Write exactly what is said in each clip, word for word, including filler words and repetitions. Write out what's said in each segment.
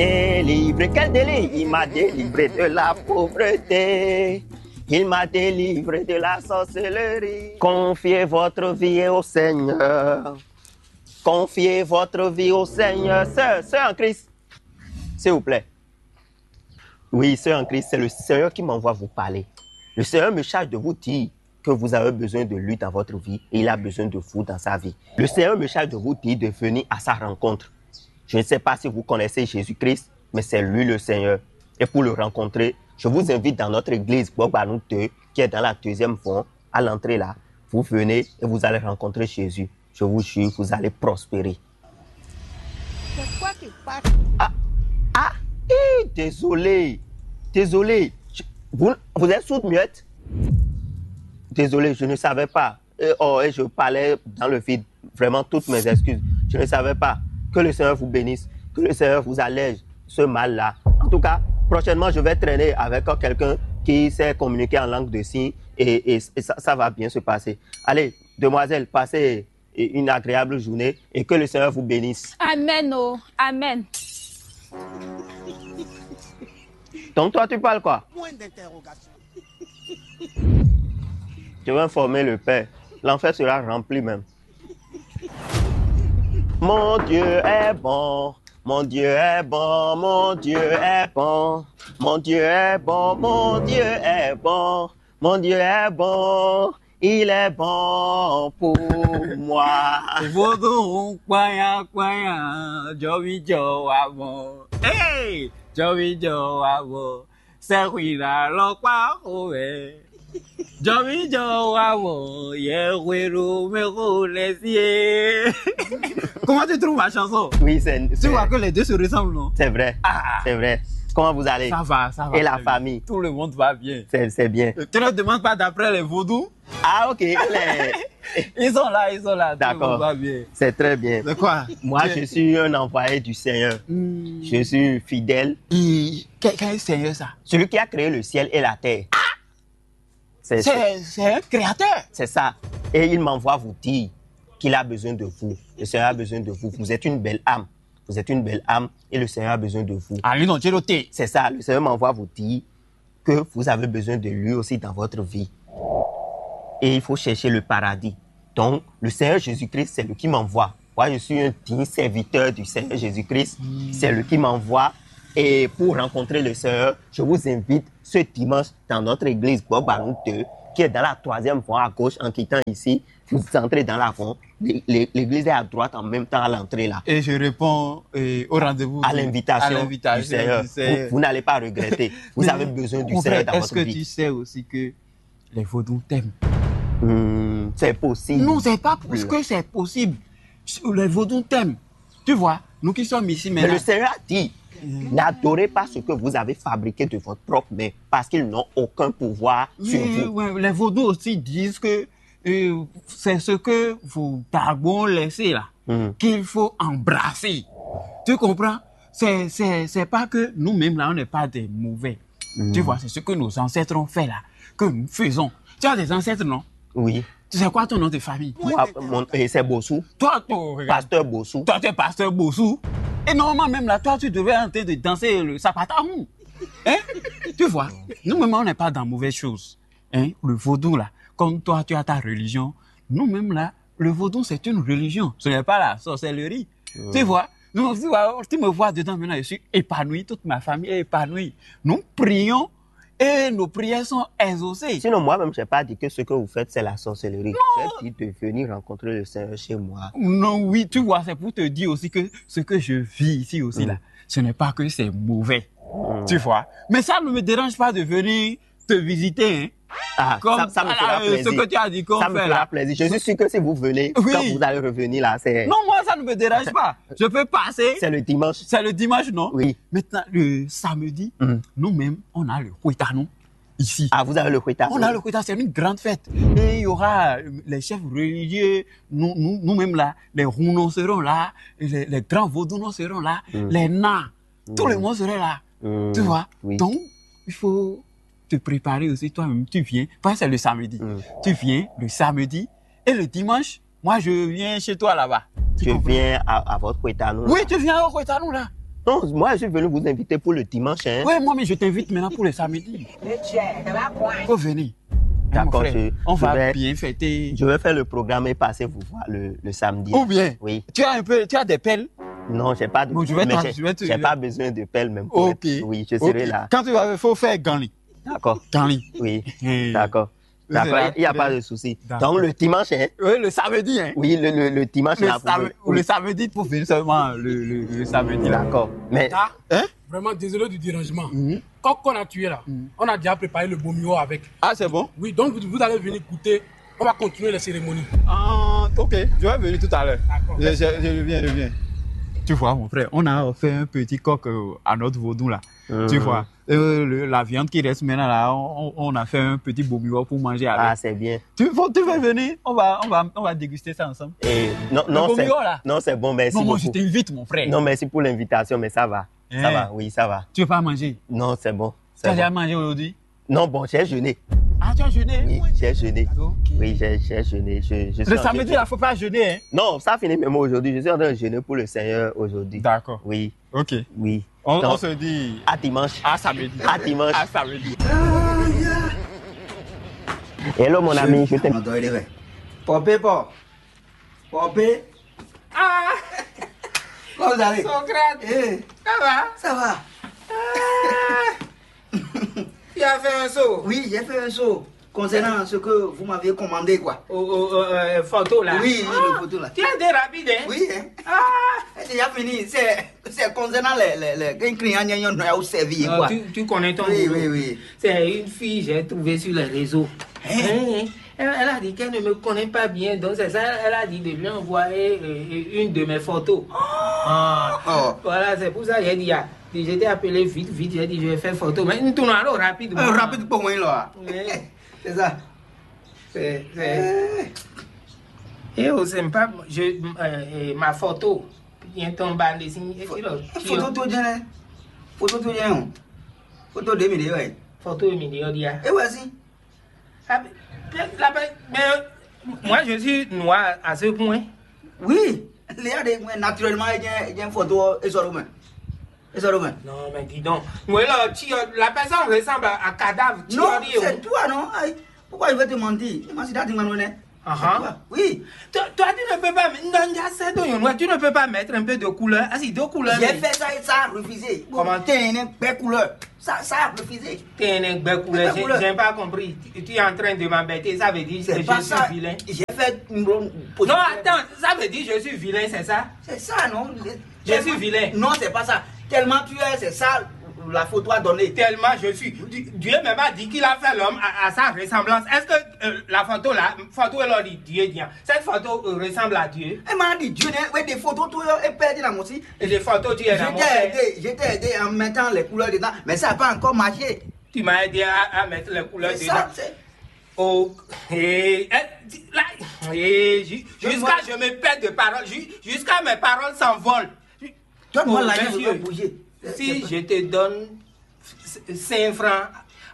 Délivré, quel délit? Il m'a délivré de la pauvreté. Il m'a délivré de la sorcellerie. Confiez votre vie au Seigneur. Confiez votre vie au Seigneur. Sœur, sœur en Christ, s'il vous plaît. Oui, sœur en Christ, c'est le Seigneur qui m'envoie vous parler. Le Seigneur me charge de vous dire que vous avez besoin de lui dans votre vie et il a besoin de vous dans sa vie. Le Seigneur me charge de vous dire de venir à sa rencontre. Je ne sais pas si vous connaissez Jésus-Christ, mais c'est lui le Seigneur. Et pour le rencontrer, je vous invite dans notre église Gbogbanou deux, qui est dans la deuxième fond, à l'entrée là. Vous venez et vous allez rencontrer Jésus. Je vous jure, vous allez prospérer. C'est quoi qui passe? Ah, ah, eh, désolé. Désolé. Je- vous, vous êtes sourde muette? Désolé, je ne savais pas. Euh, oh, et je parlais dans le vide. Vraiment, toutes mes excuses. Je ne savais pas. Que le Seigneur vous bénisse. Que le Seigneur vous allège ce mal-là. En tout cas, prochainement, je vais traîner avec quelqu'un qui sait communiquer en langue de signes et, et- et ça, ça va bien se passer. Allez, demoiselle, passez une agréable journée et que le Seigneur vous bénisse. Amen, oh, amen. Donc toi, tu parles quoi? Point d'interrogation. Je vais informer le Père. L'enfer sera rempli même. Mon Dieu est bon, mon Dieu est bon, mon Dieu est bon, mon Dieu est bon, mon Dieu est bon, mon Dieu est bon, il est bon pour moi. Vodun kpanya kpanya, jɔwíjɔ wa mɔ. Hey, jɔwíjɔ wa mɔ. Sɛxwila lɔ kpa xo wɛ. Jɔwíjɔ wa mɔ, yɛ hwenu mɛ xo lɛ sie. Comment tu trouves ma chanson? Oui, c'est Tu vois que les deux se ressemblent, non? C'est vrai. Ah, C'est vrai. Comment vous allez? Ça va, ça va. Et la Très bien. Famille? Tout le monde va bien. C'est c'est bien. Euh, Tu ne demandes pas d'après les vaudous. Ah, ok. Les- Ils sont là, ils sont là. Tout le D'accord. monde va bien. C'est très bien. De quoi? Moi, Tu- je suis un envoyé du Seigneur. Hmm. Je suis fidèle. Et quel, quel Seigneur ça? Celui qui a créé le ciel et la terre. C'est C'est c'est un créateur. c'est ça. Et il m'envoie vous dire qu'il a besoin de vous. Le Seigneur a besoin de vous. Vous êtes une belle âme. Vous êtes une belle âme et le Seigneur a besoin de vous. Ah, lui, non, tu es noté. C'est ça. Le Seigneur m'envoie vous dire que vous avez besoin de lui aussi dans votre vie. Et il faut chercher le paradis. Donc, le Seigneur Jésus-Christ, c'est lui qui m'envoie. Moi, je suis un digne serviteur du Seigneur Jésus-Christ. C'est lui qui m'envoie. Et pour rencontrer le Seigneur, je vous invite ce dimanche dans notre église Bobanou deux, qui est dans la troisième voie à gauche en quittant ici. Vous entrez dans l'avant. L'é- l'é- L'église est à droite en même temps à l'entrée là. Et je réponds euh, au rendez-vous À du- l'invitation à l'invitation du Seigneur. du Seigneur. Vous, vous n'allez pas regretter. Vous Mais avez besoin du mon Seigneur frère, dans est-ce votre que vie. Tu sais aussi que les vaudous t'aiment? Hmm, c'est possible. Non, c'est pas parce que c'est possible. Les vaudous t'aiment. Tu vois, nous qui sommes ici Mais maintenant. Le Seigneur a dit, n'adorez pas ce que vous avez fabriqué de votre propre main, parce qu'ils n'ont aucun pouvoir sur Oui, vous. Ouais, les vaudous aussi disent que euh, c'est ce que vos dagons ont laissé là, Mhm. Qu'il faut embrasser. Tu comprends? C'est, c'est, c'est pas que nous-mêmes là, on n'est pas des mauvais. Tu vois, c'est ce que nos ancêtres ont fait là, que nous faisons. Tu as des ancêtres, non? Oui. Tu sais quoi ton nom de famille? Moi, mon- et c'est Bossou. Toi, toi, regarde. Pasteur Bossou. Toi, tu es pasteur Bossou. Et normalement, même là, toi, tu devais en train de danser le sapatahou. Hein? Tu vois, nous-mêmes, on n'est pas dans mauvaise chose. Hein? Le vaudou, là, comme toi, tu as ta religion, nous-mêmes, là, le vaudou, c'est une religion. Ce n'est pas la sorcellerie. Tu vois? Donc, tu vois, tu me vois dedans maintenant, je suis épanoui, toute ma famille est épanouie. Nous prions et nos prières sont exaucées. Sinon, moi-même, je n'ai pas dit que ce que vous faites, c'est la sorcellerie. J'ai dit de venir rencontrer le Seigneur chez moi. Non, oui, tu vois, c'est pour te dire aussi que ce que je vis ici aussi, là, ce n'est pas que c'est mauvais. Tu vois? Mais ça ne me dérange pas de venir te visiter, hein. Ah, Comme ça, ça me à la- fera euh, ce plaisir. que tu as dit qu'on Ça me fait fera là. Plaisir. Je suis sûr que si vous venez, Oui. Quand vous allez revenir là, c'est Non, moi, ça ne me dérange pas. Je peux passer. C'est le dimanche. C'est le dimanche, non? Oui. Maintenant, le samedi, Mhm. nous-mêmes, on a le Kwétanou ici. Ah, vous avez le Kwéta. On a le Kwéta, c'est une grande fête. Et il y aura euh, les chefs religieux, nous, nous, nous-mêmes là, les Hounon seront là, les, les grands Vaudounos seront là, les Nas, tout le monde sera là. Hmm, Tu vois? Oui. Donc, il faut te préparer aussi toi-même. Tu viens, parce que c'est le samedi. Hmm. Tu viens le samedi et le dimanche, moi, je viens chez toi là-bas. Tu Je comprends? Viens à, à votre Kwétanou. Oui, tu viens au Kwétanou là. Non, moi, je suis venu vous inviter pour le dimanche, hein. Ouais, moi, mais je t'invite maintenant pour le samedi. Faut venir. Hein, mon frère, on va bien fêter. Je vais faire le programme et passer vous voir le, le samedi. Ou bien, oui, tu as un peu, tu as des pelles. Non, j'ai pas de, bon, je vais mais j'ai, je vais te, j'ai pas besoin de pelles même. Ok. Oui, je serai là. Quand tu vas, il faut faire Ganli. D'accord. Ganli. Oui. D'accord. D'accord, il n'y a pas de souci. Donc le dimanche, hein? Oui, le samedi, hein? Oui, le, le, le dimanche, le là, samedi, ou le samedi, pour venir seulement le, le, le samedi là. D'accord. Mais hein? Vraiment, désolé du dérangement. Coq qu'on a tué là, on a déjà préparé le bomiwo avec. Ah, c'est bon? Oui, donc vous, vous allez venir goûter. On va continuer les cérémonies. Ah, ok, je vais venir tout à l'heure. D'accord. Je, je, je viens, je viens. Tu vois, mon frère, on a fait un petit coq, euh, à notre vaudou là. Tu vois, euh, le- la viande qui reste maintenant là, on, on- on a fait un petit bomiwo pour manger avec. Ah, c'est bien. Tu veux, tu veux venir? On va, on va, on va déguster ça ensemble. Et non, non, c'est, non, c'est bon, merci beaucoup. Non, moi, je t'invite, mon frère. Non, merci pour l'invitation, mais ça va. Ça va, oui, ça va. Tu veux pas manger? Non, c'est bon. Tu as déjà mangé aujourd'hui? Non, bon, j'ai jeûné. Ah, tu as jeûné? Oui, j'ai jeûné. Ok. Oui, j'ai, j'ai jeûné. Je, je suis en jeûne. Le samedi, il ne faut pas jeûner, hein? Non, ça finit même aujourd'hui. Je suis en train de jeûner pour le Seigneur aujourd'hui. D'accord. Oui. Ok. Oui. On, on se dit à dimanche. À samedi. À dimanche. À samedi. Hello, mon ami, je t'aime. Pop, pop. Pop. Ah! Comment vous allez? Socrate. Eh. Ça va? Ça va. Ah! Tu as fait un saut? Oui, j'ai fait un saut. Concernant ce que vous m'avez commandé, quoi. Au, au, au, euh, photo là. Oui, oui, le photo là. Tu as été rapide, hein? Oui, hein? Ah! C'est déjà fini. C'est, c'est concernant les, les, les, un client, il y a un noyau servi, quoi. Tu, tu connais ton boulot. Oui, oui, oui. C'est une fille, j'ai trouvé sur les réseaux. Hein? Hein, hein. Elle, elle a dit qu'elle ne me connaît pas bien, donc c'est ça, elle a dit de lui envoyer, euh, une de mes photos. Ah. Voilà, c'est pour ça que j'ai dit, ah, je t'ai appelé vite, vite, j'ai dit, je vais faire photo. Mais nous tournons alors rapidement. Euh, rapide pour moi, là. Oui. C'est ça. C'est, c'est... Eh, oh, c'est pas, je, euh, euh, ma photo. Bien tombé, les signes, et puis là, photo tout bien, hein. Photo tout bien, hein. Photo de milieu, ouais. Photo de milieu, dia. Et voici. Ah, mais, la pe- mais, euh, moi, je suis noir à ce point. Oui, il y a des, naturellement, il y a, il y a une photo, et ça, et ça, non, mais dis donc. Mais là, tu, euh, la personne ressemble à, à cadavre. Tu non, as dit, c'est toi, non? Aïe, pourquoi je vais te mentir? Moi, c'est Dati Manoué. Ah, c'est toi. Oui. Toi, toi, tu ne peux pas, non, il y a ça dans le noir, tu ne peux pas mettre un peu de couleur. Ah, si, deux couleurs. J'ai fait ça et ça a refusé. Comment? T'es une belle couleur. Ça, ça a refusé. T'es un bel couleur, j'ai j'ai pas compris. Tu, tu es en train de m'embêter. Ça veut dire que je suis vilain. J'ai fait une bonne position. Non, attends, ça veut dire je suis vilain, c'est ça? C'est ça, non? Je suis vilain. Non, c'est pas ça. Tellement tu es, c'est ça, la photo a donné. Tellement je suis. Di- Dieu même a dit qu'il a fait l'homme à, à sa ressemblance. Est-ce que, euh, la photo là, photo est là, Dieu dit, hein. Cette photo, euh, ressemble à Dieu? Elle m'a dit, Dieu, ouais, des photos, tout, et père dit la aussi. Et des photos, tu es là, mon frère. Je t'ai aidé, je t'ai aidé en mettant les couleurs dedans, mais ça n'a pas encore marché. Tu m'as aidé à, à mettre les couleurs dedans. C'est ça, c'est... Oh, eh, eh, là, eh, ju- jusqu'à je me perds de parole, ju- jusqu'à mes paroles s'envolent. Donne-moi la main, je vais bouger. Si je te donne cinq francs,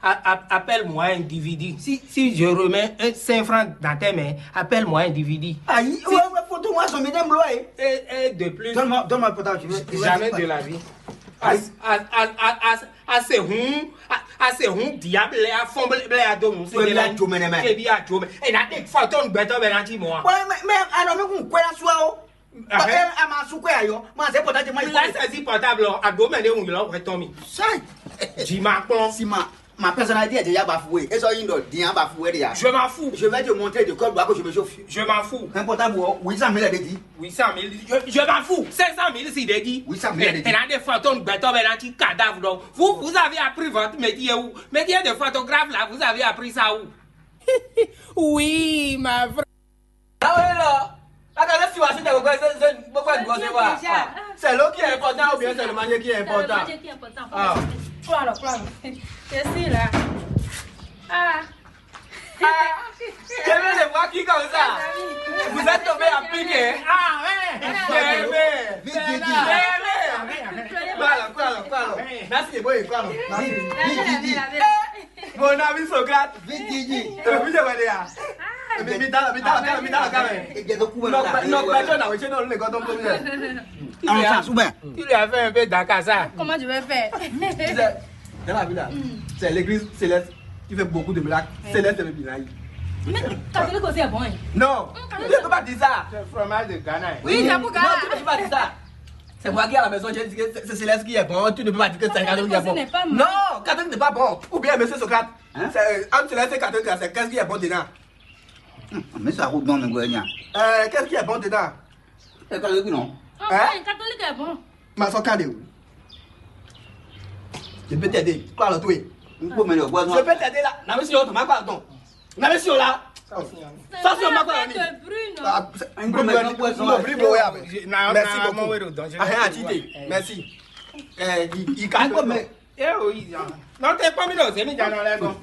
a- a- appelle-moi individu. Si, si je remets un cinq francs dans tes mains, appelle-moi individu. Aïe, ouais, ouais, photo, moi, son médecin bloqué. Et, et de plus, donne-moi, donne-moi le portable, je vais, je vais jamais de la vie. À, à, à, à, à, à ces hum, à, à ces hum, diable, à fond, blé, blé, à dos, nous, c'est de la vie. Et là, des fois, ton bête, ben, là, dis-moi. Ouais, mais, mais, alors, mais, quoi, la soirée, oh? Ah, eh, a ma su kwɛ ayɔ, ma zɛ portable ma. Laisse ce portable, à domaine où il aurait tombé. Sai. Dis-moi, si ma, ma personnalité est déjà bafouée. Et ça, il doit dire bafoué déjà. Je m'en fous. Je vais te montrer de quoi doit que je me chauffe. Je m'en fous. Un portable, oh, huit cent mille a dit. Huit cent mille, je, je m'en fous. Cinq cent mille, si il dit. Huit cent mille a dit. Et là, des fois, ton bête, ben, là, tu cadavre, donc. Vous, vous avez appris votre métier où? Métier de photographe, là, vous avez appris ça où? Oui, ma vraie. Ah oui, là. Là, quand je suis assis, je vois, je, je, je vois, je vois. C'est l'eau qui est importante ou bien c'est le manger qui est important? C'est le manger qui est important. Ah. Quoi alors, quoi alors? Je suis là. Ah. Ah. Je viens de voir qui comme ça. Vous êtes tombé à pic, hein? Ah, ouais. Vite, vite, vite. Quoi alors, quoi alors, quoi alors? Merci, boy, quoi alors? Merci. Vite, vite, vite. Mon ami Socrate. Vite, vite, vite. Eh, oui, je vois déjà. Mais, mais, dans, mais, dans, mais, dans, mais, dans, quand même. Non, non, non, je n'ai pas le temps de En chance, ou bien? Tu lui as fait un peu d'akasa. Comment je vais faire? Tu sais, dans la vie là, c'est l'église céleste qui fait beaucoup de miracles. Céleste, c'est bien. Mais catholique aussi est bon, hein? Non, tu ne peux pas dire ça. C'est le fromage de Ghana, hein. Oui, c'est pour Ghana. Non, tu ne peux pas dire ça. C'est moi qui à la maison, j'ai dit que c'est céleste qui est bon. Tu ne peux pas dire que c'est catholique qui est bon. Non, catholique n'est pas bon. Ou bien, monsieur Socrate, c'est, euh, entre céleste et catholique, c'est qu'est-ce qui est bon dedans? Mais ça roule dans le gouvernement. Euh, qu'est-ce qui est bon dedans? C'est catholique, non? Hein? Catholique est bon. Ma sɔ kan de o. Je peux t'aider. Quoi, le tout? N kpó mɛ lɛ o bɔ. Je peux t'aider là. Na mi si o tɔn ma kpa tɔn. Na mi si o la. Sɔ si o ma kpa ni. N kpó mɛ lɛ o bɔ. Merci beaucoup. Ah, hein, Tite. Merci. Eh, il, il casse. N kpó mɛ. Eh, oui, non, t'es pas mis dans les médias, non, là, bon.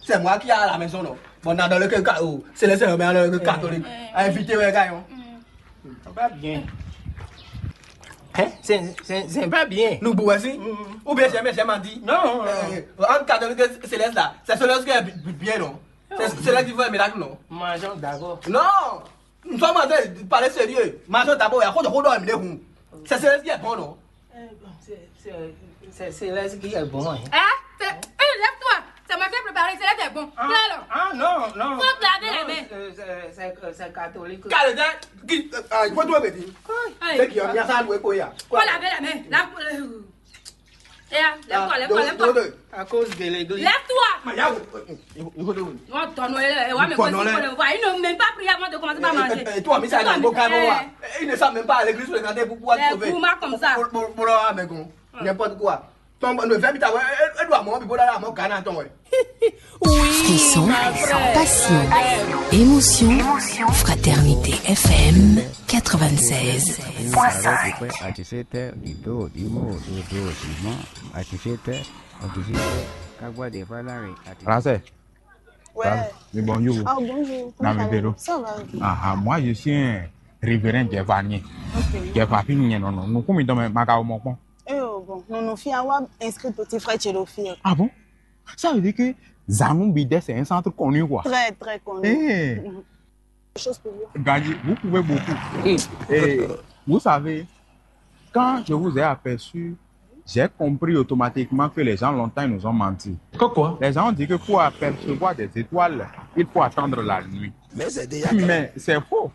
C'est moi qui a la maison, non? Bon, dans le cas, oh, c'est le seul, mais dans le cas catholique. Invité, ouais, gars. Pas bien. Hein? C'est, c'est, c'est pas bien. Nous, boire, si? Ou bien, jamais, jamais dit. Non. Euh, en catholique céleste, là, c'est celui qui est bi-, bi-, bien, non? C'est, c'est là qu'il faut un miracle, non? Mangeons d'abord. Non. Nous sommes en train de parler sérieux. Mangeons d'abord, il y a quoi de quoi dans le monde? C'est céleste qui est bon, non? Euh, bon, c'est, c'est, c'est, c'est là ce qui est bon, hein. Hein? C'est, hey, lève-toi. C'est moi qui ai préparé, c'est là qui est bon. Ah, viens alors. Ah, non, non. Faut te laver les mains. Non, c'est, c'est, c'est, c'est catholique. Calme, qui, ah, il faut tout dire. Hey. C'est qui, il y a ça à louer, quoi, il y a. Faut laver les mains. Là, euh, eh, ah, lève-toi, lève-toi, lève-toi. À cause de l'église. Lève-toi. Mais il y a, il faut, il faut dire. Non, ton nom est là. Ouais, mais quoi, il faut le voir. Ils n'ont même pas prié avant de commencer à manger. Et toi, mais ça, il y a un beau carrément, ouais. Ils ne savent même pas à l'église fréquenter pour pouvoir sauver. Pour moi, comme ça. Pour, pour, pour, ah, mais bon, n'importe quoi. Ton, le verbe, t'as, ouais, elle, elle doit mourir, puis pour aller à mon Ghana, ton, ouais. Frisson, passion, émotion, Fraternité F M quatre-vingt-seize point cinq. À dix-sept heures, il dort, il mange, il dort, il mange. À dix-sept heures, à dix-huit heures, quand boire des valares, à dix-huit heures. Français. Ouais. Bah, mais bonjour. Ah, bonjour. Comment ça va? Ça va. Ah, ah, moi, je suis un révérend Djevanien. Ok. Djevanien, non, non. Nous, comme dans ma, ma, ma, Eh, oh, bon, non, non, fille, avoir inscrit petit frère Tchélofi. Ah bon? Ça veut dire que Zanou Bidet, c'est un centre connu, quoi. Très, très connu. Eh. Mhm. Des choses pour vous. Gagné, vous pouvez beaucoup. Et vous savez, quand je vous ai aperçu, j'ai compris automatiquement que les gens longtemps, ils nous ont menti. Pourquoi? Les gens ont dit que pour apercevoir des étoiles, il faut attendre la nuit. Mais c'est déjà... Mais c'est faux.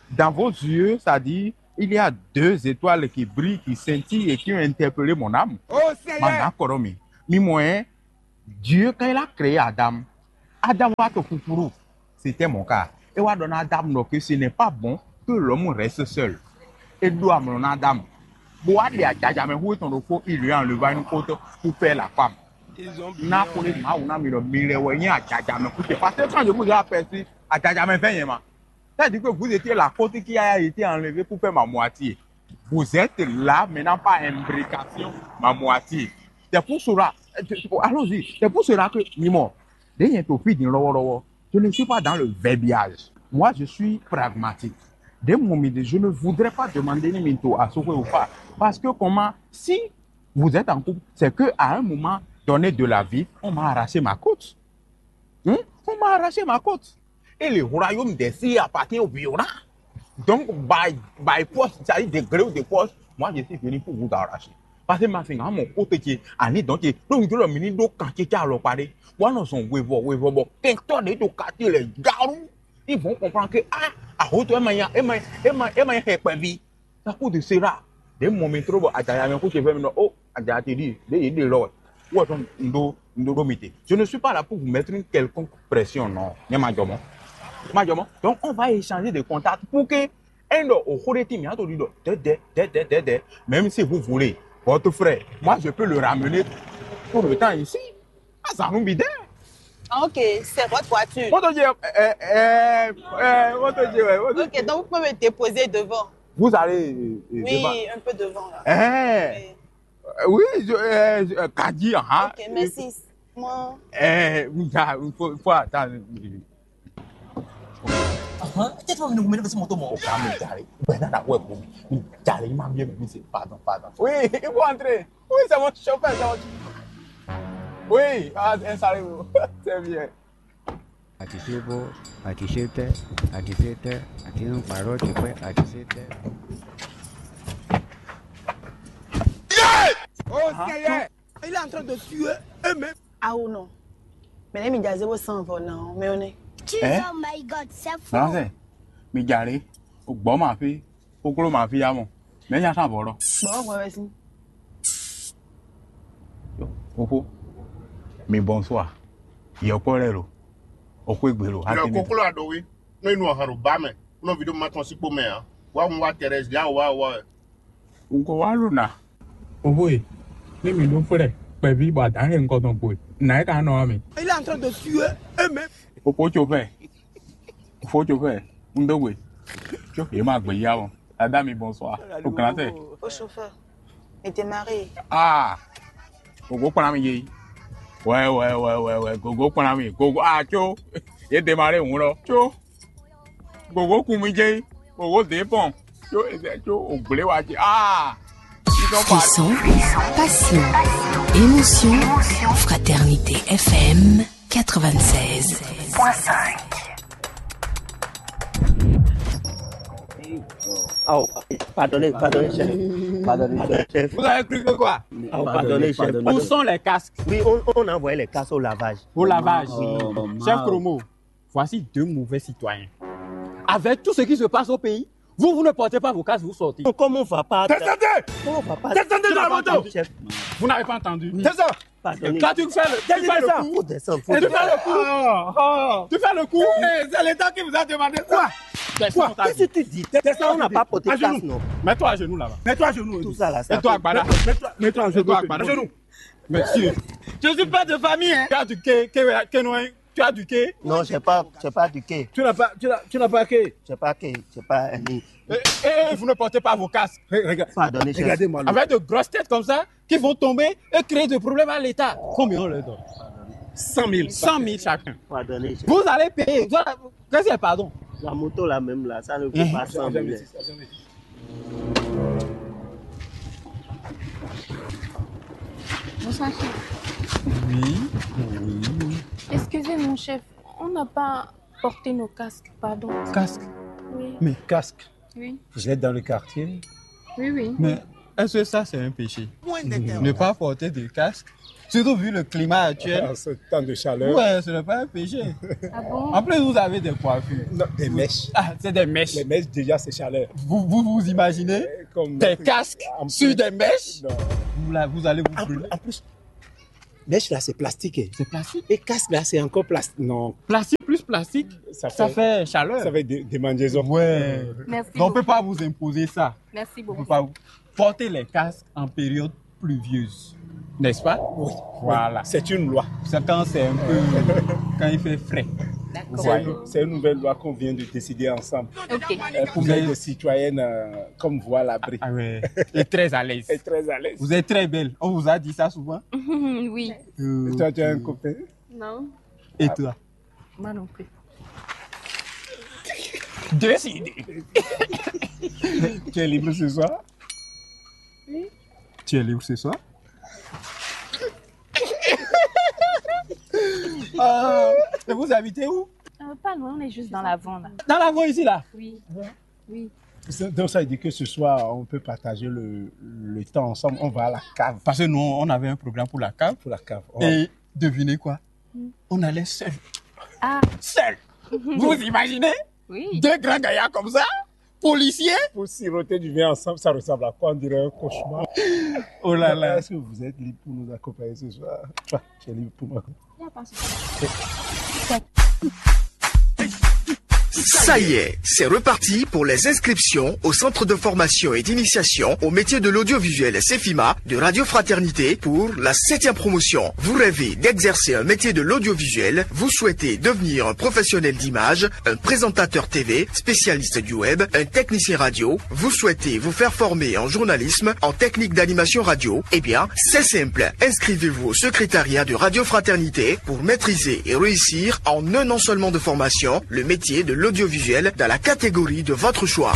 Dans vos yeux, ça dit, il y a deux étoiles qui brillent, qui scintillent et qui ont interpellé mon âme. Oh Seigneur! Mana kɔrɔ mi. Mi mɔ ɛ, Dieu, quand il a créé Adam, Adam va to kukuru. C'était mon cas. Et wa donner Adam, donc, que ce n'est pas bon que l'homme reste seul. Et doit mon Adam. Bon, il y a déjà, mais où est ton repos? Il lui a enlevé une côte pour faire la femme. N'a pour les mains, on a mis le mille, ouais, il y a déjà, mais écoutez, parce que quand je vous ai aperçu, à déjà, mais vingt, c'est-à-dire que vous étiez la côte qui a été enlevée pour faire ma moitié. Vous êtes là maintenant par imbrication, ma moitié. C'est pour cela, allons-y, c'est pour cela que, Mimo, je ne suis pas dans le verbiage. Moi, je suis pragmatique. Dès mon idée, je ne voudrais pas demander ni minto à ce que ou pas. Parce que comment, si vous êtes en couple, c'est que à un moment donné de la vie, on m'a arraché ma côte. Hein? On m'a arraché ma côte. Et le royaume des cieux appartient au violent. Donc, by, by force, c'est-à-dire de gré ou de force, moi, je suis venu pour vous arracher. Parce que ma fin, mon côté qui est allé donc, donc, je le mini do quand tu as le paré. Moi, nous sommes, oui, bon, oui, bon, bon. Quand on est au quartier, les garous, ils vont comprendre que, ah, à hauteur, Emma, Emma, Emma, Emma, Emma, vie. Ça coûte de cela. Des moments trop, bon, attends, il y a un coup qui fait, non, oh, attends, tu dis, des, des, des, là, ouais. Où est-ce qu'on doit, on doit mettre? Je ne suis pas là pour vous mettre une quelconque pression, non. Ni ma jɔmɔ. Ma jɔmɔ. Donc, on va échanger des contacts pour que un de au cours des teams, il y a tout dit, de, de, de, de, de, de. Même si vous voulez, votre frère, moi, je peux le ramener tout le temps ici. Ah, ça nous bide. Ah, ok, c'est votre voiture. Moto G, euh, euh, euh, Moto G, ouais, Moto G. Ok, donc vous pouvez me déposer devant. Vous allez, euh, euh, oui, devant. Un peu devant, là. Eh. Oui. Euh, oui, je, euh, je, euh, Kadi, hein. Ok, merci. Moi. Eh, il faut, il faut attendre. Aham, ẹ jẹ́ tí wọ́n mi ní ogun mẹ́rin fẹ́ sí mọ́tò mọ́. O kà mi jàre. Bẹ́ẹ̀ náà dàgbọ́ ẹ̀kọ́ mi. Mi jàre, yín máa ń bí ẹ̀mí mi ṣe. Pardon, pardon. Oui, il faut entrer. Oui, c'est mon chauffeur, c'est mon chauffeur. Oui, ah, ẹ sáré o. C'est bien. Àti sebo, àti sete, àti sete, àti nukparɔ ti kpɛ, àti sete. Oh Seigneur, il est en train de tuer eux-mêmes. Awo nɔ. Mɛ nɛ mi dza zéro cent vɔ na ɔ mɛ ɔnɛ. Jesus, Eh? Oh my God, c'est fou. Français, mi jàre, o gbọ́ ma fi, o klo ma fi ya mɔ, mɛ nya kan vɔ lɔ. Bɔn ɔgbɔn wɛ sin. Oxo, mi bonsoir, yɔkpɔ lɛ lo, oxo egbe lo, Ilɔ koklo aɖowi nɔ inu ɔhan ɖo ba mɛ, nɔ vi ɖo ma tɔn si kpo mɛ a. Wa hun wa Thérèse ya wa wa. N ko wá lò nà. Oxo e, ní mi ɖó xlɛ kpɛví bɔ adǎn e ŋkɔ tɔn kpo e, nǎ é ka nɔ ɔ́ mi. Il est en train de tuer eux-mêmes. Oxo tso fɛ, oxo tso fɛ, n dó gbe, tso yě ma gbé yá o. Adá mi bonsoir, o grand tɛ. Au chauffeur. Et t'es marié. Ah, gogo kpɔnna mi yé. Ouais, ouais, ouais, ouais, ouais, gogo kpɔnna mi, gogo ah tso, yé démarré hùn lɔ, tso, gogo kun mi jé, gogo dé pɔn, tso, tso, o gblé wa jé, ah. Ils sont partis. Frisson, passion, émotion, fraternité F M quatre-vingt-seize point cinq. Oh, pardonnez, pardonnez, chef. Pardonnez, chef. Vous avez cru que quoi? Oh, pardonnez, chef. Où sont les casques? Oui, on, on a envoyé les casques au lavage. Au lavage. Oui. Chef Chromo, voici deux mauvais citoyens. Avec tout ce qui se passe au pays, vous, vous ne portez pas vos casques, vous sortez. Comment on va pas. Descendez. Comment on va pas. Descendez de la moto. Chef. Vous n'avez pas entendu. Descends. Pardonnez. Quand tu fais le, tu fais le Descends. coup, Faut descendre. tu fais le coup. Tu fais le coup. C'est l'État qui vous a demandé quoi? Descends, on t'a Qu'est-ce que dit. tu dis? Descends, on n'a pas porté À classe, genoux. Non. Mets-toi à genoux là-bas. Mets-toi à genoux. Tout ça là, ça Mets-toi à fait- Gbala. Mets-toi, mets-toi à genoux. Mets-toi à Gbala. À genoux. Monsieur, Je suis pas de famille, hein. Tu as du qué, qué, qué, non, hein? Tu as du qué? Non, j'ai pas, j'ai pas du quai. Tu n'as pas, tu n'as, tu n'as pas qué? J'ai pas quai, j'ai pas un nid. Et, et vous ne portez pas vos casques. Re- rega- Pardonnez, chef. Regardez-moi. Avec de grosses têtes comme ça, qui vont tomber et créer des problèmes à l'État. Combien on leur donne? Cent mille. Cent mille chacun. Pardonnez, chef. Vous allez payer. Vous allez- Qu'est-ce que c'est, pardon? La moto là même là, ça ne vaut pas cent mille. Bonsoir, chef. Oui. Excusez, mon chef, on n'a pas porté nos casques, pardon. Casque. Oui, Mais casque. Oui. Vous êtes dans le quartier. Oui, oui. Mais est-ce que ça, c'est un péché? Ne pas porter de casque, surtout vu le climat actuel. En ce temps de chaleur. Ouais, ce n'est pas un péché. Ah bon? En plus, vous avez des coiffures. Non, des mèches. Ah, c'est des mèches. Les mèches, déjà, c'est chaleur. Vous, vous, vous imaginez Comme des casques en sur plus- des mèches? Non. Vous, là, vous allez vous En plus, brûler. En plus, mèche là, c'est plastique. C'est plastique. Et casque là, c'est encore plastique. Non. Plastique plus plastique, ça fait chaleur. Ça fait des, des mangeaisons. Ouais. Merci Donc, on ne peut beaucoup. Pas vous imposer ça. Merci On beaucoup. Peut pas vous porter les casques en période pluvieuse, n'est-ce pas? Oui. Voilà. C'est une loi. C'est quand c'est un peu, quand il fait frais. Vous C'est voyez. une, c'est une nouvelle loi qu'on vient de décider ensemble. Ok. Euh, pour Vous mettre avez- des citoyennes euh, comme vous à l'abri. Ah ouais. Et très à l'aise. Et très à l'aise. Vous êtes très belle. On vous a dit ça souvent. Oui. Euh, Et toi, tu as un copain? Non, Et toi? moi non plus. Décidé. Tu es libre ce soir? Oui. Tu es libre ce soir? Euh, et vous habitez où? Euh, pas loin, on est juste dans l'avant là. Dans l'avant ici là. Oui. Oui. C'est- Donc ça veut dire que ce soir, on peut partager le, le temps ensemble. On va à la cave. Parce que nous, on avait un programme pour la cave. Pour la cave. Et devinez quoi? On allait seul. Ah, Seul. Vous vous imaginez? Oui. Deux grands gaillards comme ça, policiers. Pour siroter du vin ensemble, ça ressemble à quoi? On dirait un cauchemar. Oh là là. Est-ce que vous êtes libre pour nous accompagner ce soir? Enfin, tu es libre pour moi. Il y a pas de souci. Ça y est, c'est reparti pour les inscriptions au Centre de formation et d'initiation au métier de l'audiovisuel CEFIMA de Radio Fraternité pour la septième promotion. Vous rêvez d'exercer un métier de l'audiovisuel, vous souhaitez devenir un professionnel d'image, un présentateur T V, spécialiste du web, un technicien radio, vous souhaitez vous faire former en journalisme, en technique d'animation radio, eh bien, c'est simple. Inscrivez-vous au secrétariat de Radio Fraternité pour maîtriser et réussir en un an seulement de formation le métier de l'audiovisuel dans la catégorie de votre choix.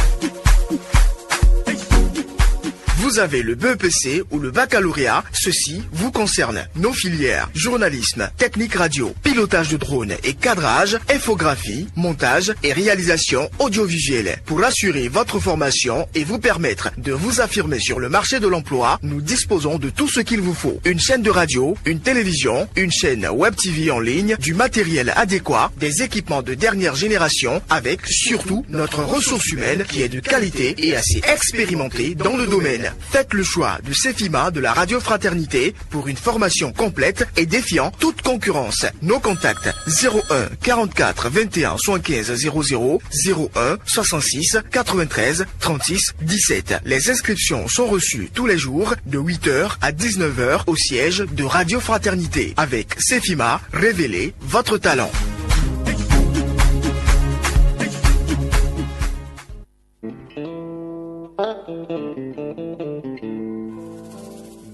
Vous avez le B E P C ou le baccalauréat, ceci vous concerne. Nos filières, journalisme, technique radio, pilotage de drone et cadrage, infographie, montage et réalisation audiovisuelle. Pour assurer votre formation et vous permettre de vous affirmer sur le marché de l'emploi, nous disposons de tout ce qu'il vous faut. Une chaîne de radio, une télévision, une chaîne web T V en ligne, du matériel adéquat, des équipements de dernière génération, avec surtout notre ressource humaine qui est de qualité et assez expérimentée dans le domaine. Faites le choix de Cefima de la Radio Fraternité pour une formation complète et défiant toute concurrence. Nos contacts: zéro un quarante-quatre vingt et un soixante-quinze zéro zéro, zéro un soixante-six quatre-vingt-treize trente-six dix-sept. Les inscriptions sont reçues tous les jours de huit heures à dix-neuf heures au siège de Radio Fraternité. Avec Cefima, révélez votre talent.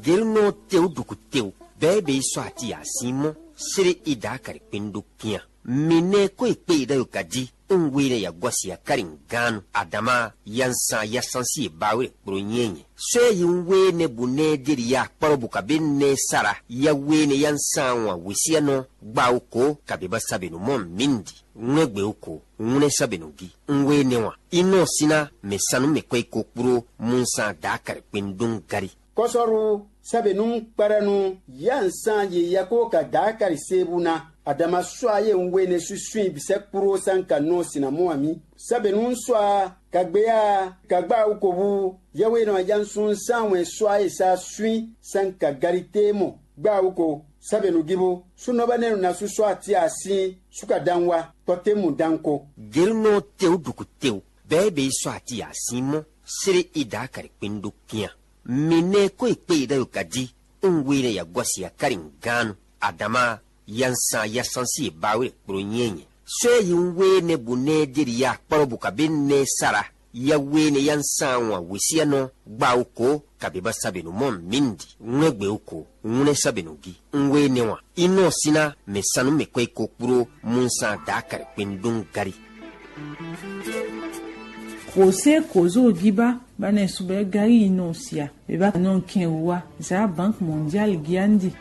Gelunɔ tewu ɖuku tewu bɛɛ bɛ yi sɔ ati asin mɔ sere ida kari kpendo kian. Mine ko ikpe ida yo kadi un we ne ya gɔsi akari ganu adama yansan yasansi e bawe kpro nyɛnyɛ. Sɔ yi un we ne bu ne de ya kparo bu kabe ne sara ya we ne yansan wa wesianɔ gba o ko kabe ba sabe no mɔ mindi. Ŋlɛ́gbɛ ko ŋlɛ́ sɔ́ bɛ nɔ gi. Un we nɛ wan. I nɔ sín ná mɛ sanu mɛ kɔ yi ko kpló munsan daakari kpendun gari. Kɔsɔru sɛbɛnu kpɛrɛnu yansan ye yako ka daakari sebu na. Adama sɔ ye un we ne susu bi sɛ kpló san ka nɔ sinamɔ ami. Sɛbɛnu sɔ ka gbe ya ka gba ukobu. Yawe nɔ yansun san wɛ sɔ ye sa sui san ka gari te mɔ gba uko. Sɛbɛnu gibo sunɔ bɛ ne na susu ati asin suka dan wa kpɔtemu dan ko. Gelunɔ tewu ɖuku tewu bɛɛ bɛ yi sɔ ati asin mɔ sere ida kari kpendo kian. Mi nɛ ko yi kpe ida yo kadi un we ne ya gɔsi akari ganu adama yansan yasansi e bawe kpro nyɛnyɛ. Sɔ yi un we ne bu ne de ya kpɔrɔ bu kabe ne sara ya we ne yansan wa wesianɔ gba o ko kabe ba sabe no mɔ mindi ŋlɛgbɛ o ko ŋlɛ sabe no gi. Un we ne wa inɔ sina mɛ sanu mɛ kɔ yi ko kpro munsan da kari kpendun gari. Kose kozo giba bane subɛ gari inɔ sia beba non ken wa za Banque Mondiale giandi.